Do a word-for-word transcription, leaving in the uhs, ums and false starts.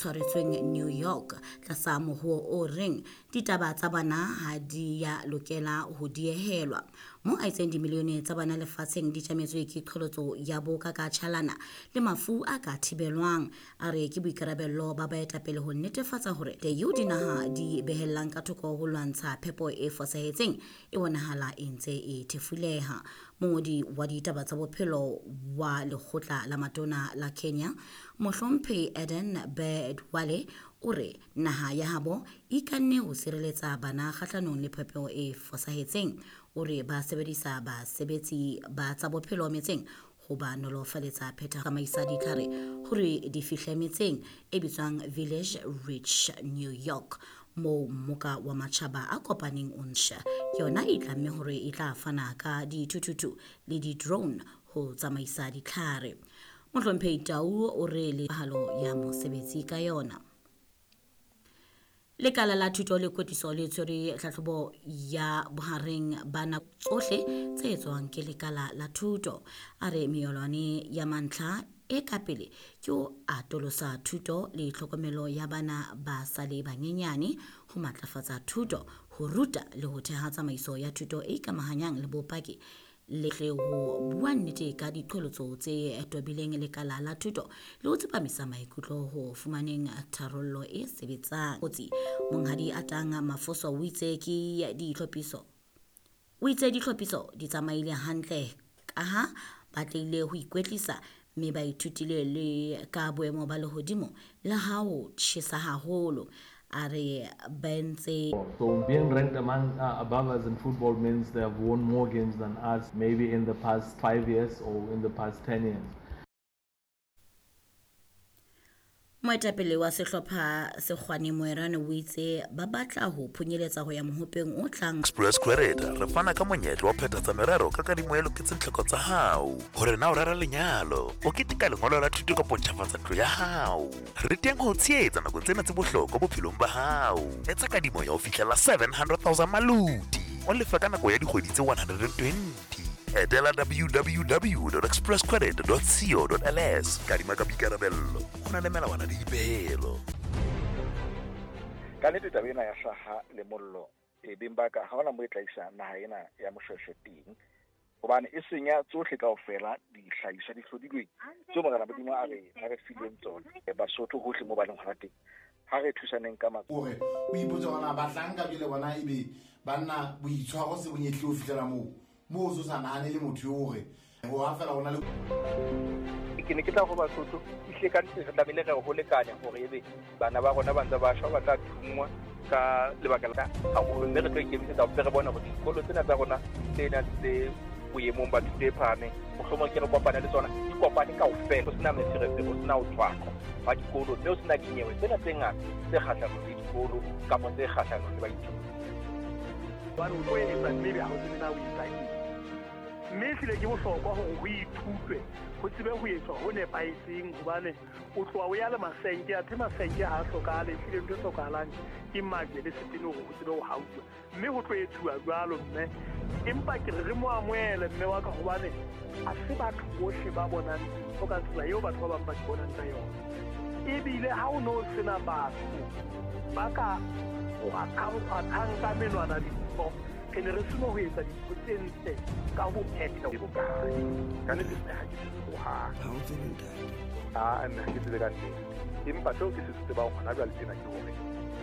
tshwaretsweng New York tlasa mohuo o reng ditaba tsa bana ha di ya lokela ho diehelwa. Mo a itseng dimilione tsa bana lefatsheng di tjametswe ke qholotso ya boka ka tjhalana le mafu a ka thibelwang. A re ke boikarabello ba baetapele ho netefatsa hore eo dinaha di behellang ka thoko ho lwantsha phepo e fosahetseng e bonahala e ntse e thefuleha. Mongodi wa ditaba tsa bophelo wa lekgotla la matona la Kenya, Mohlomphehi Aden Duale, o re naha ya habo e ikanne ho sireletsa bana kgahlanong le phepo e fosahetseng. O re ba sebedisa basebetsi ba tsa bophelo metseng ho ba nolofaletsa phetha tsamaisa ditlhare hore di fihle metseng e bitswang Village Reach New York, moo mmoka wa matjhaba a kopaneng o ntjha. Ke yona e tlamme hore e tla fana ka dithuthuthu le di-drone ho tsamaisa ditlhare. Mohlomphehi Tau o re le pahalo ya mosebetsi ka yona. Lekala la thuto le kwetliso le tshwere tlhahlobo ya bohareng ba nako tsohle tse etswang ke lekala la thuto. A re meyolwane ya mantlha e ka pele ke ho atolosa thuto le tlhokomelo ya bana ba sa le banyenyane, ho matlafatsa thuto, ho ruta le ho theha tsamaiso ya thuto e ikamahanyang le bopaki le tle ho bua nnete ka diqholotso tse tobileng lekala la thuto le ho tsepamisa maikutlo ho fumaneng tharollo e sebetsang. Kotsi Monghadi Atang Mafoso o itse ke ditlhophiso o itse ditlhophiso di tsamaile hantle kaha ba tlile ho ikwetlisa mme ba ithutile le ka boemo ba lehodimo le ha ho tjhesa haholo. A re ba ntse So being ranked among uh, above us in football means they have won more games than us, maybe in the past five years or in the past ten years. Moetapele wa sehlopha Sekgwane Moerane o itse ba batla ho phunyeletsa ho ya mohopeng o tlang. Express Credit re fana ka monyetla wa phethatsa merero ka kadimo e loketseng tlhoko tsa hao. Hore na o rera lenyalo, o keteka lengolo la thuto kapa ntjhafatsa ntlo ya hao. Re teng ho tshehetsa nakong tsena tse bohlokwa bophelong ba hao. Etsa kadimo ya ho fihlela seven hundred thousand maloti. O lefa ka nako ya dikgwedi tse one hundred and twenty. Etela w w w dot express credit dot co dot l s. Kadima ka boikarabello, ho na le melawana le dipehelo. Ka nnete taba ena ya hlaha le mollo e beng ba ka ha hona mo e tla isa naha ena ya Moshweshwe teng, hobane e senya tsohle kaofela dihlahiswa di hlodilweng tseo Morena Modimo a re a re fileng tsona. Basotho hohle mo ba leng hona teng, ha re thusaneng ka matsoho. Hore o ipotse hore na bahlanka jwale bona ebe banna boitshwaro se bonyehle ho fihlela moo moo o sa nahane le motho eo hore ho ha fela hona le ke ne ke tla go Basotho ehlile ka nnete re tlamehile re ho lekanya hore ebe bana ba rona ba ntse ba shwa ba tla thungwa ka lebaka la haholo, mme re tlo ikemisetsa hore re bone hore dikolo tsena tsa rona tse nang tse boemong ba thuto e phahameng mohlomong ke re kopane le tsona di kopane kaofela, ho sena meferefere, ho sena ho tshwaqwa ba dikolo, mme ho sena dinyewe tsena tse ngata tse kgahlanong le dikolo kapa tse kgahlanong le baithuti. Hobane o tlo etsa mme ebe ha o tsebe na o etsa eng. Mme ehlile ke bohlokwa hore ho ithutwe, ho tsebe ho etswa ho nepahetseng, hobane o tloha o ya le masenke, athe masenke ha a hlokahale. Ehlile ntho e hlokahalang ke majwe le setene hore ho tsebe ho hauwa, mme ho tlo etsuwa jwalo. Mme empa ke re re mo amohele mme wa ka, hobane ha se batho bohle ba bonang dintho ka tsela eo batho ba bang ba di bonang ka yona. Ebile ha o no sena batho ba ka kgwathang ka menwana dintho, re ne re seno ho etsa dintho tse ntle ka ho phetha bokae. Ka nnete mme ha ke se tsebe hohang. Ha o tsebe ntate? Ah, mme ha ke tsebe ka nnete. Empa seo ke se tsebang hona jwale tjena ke hore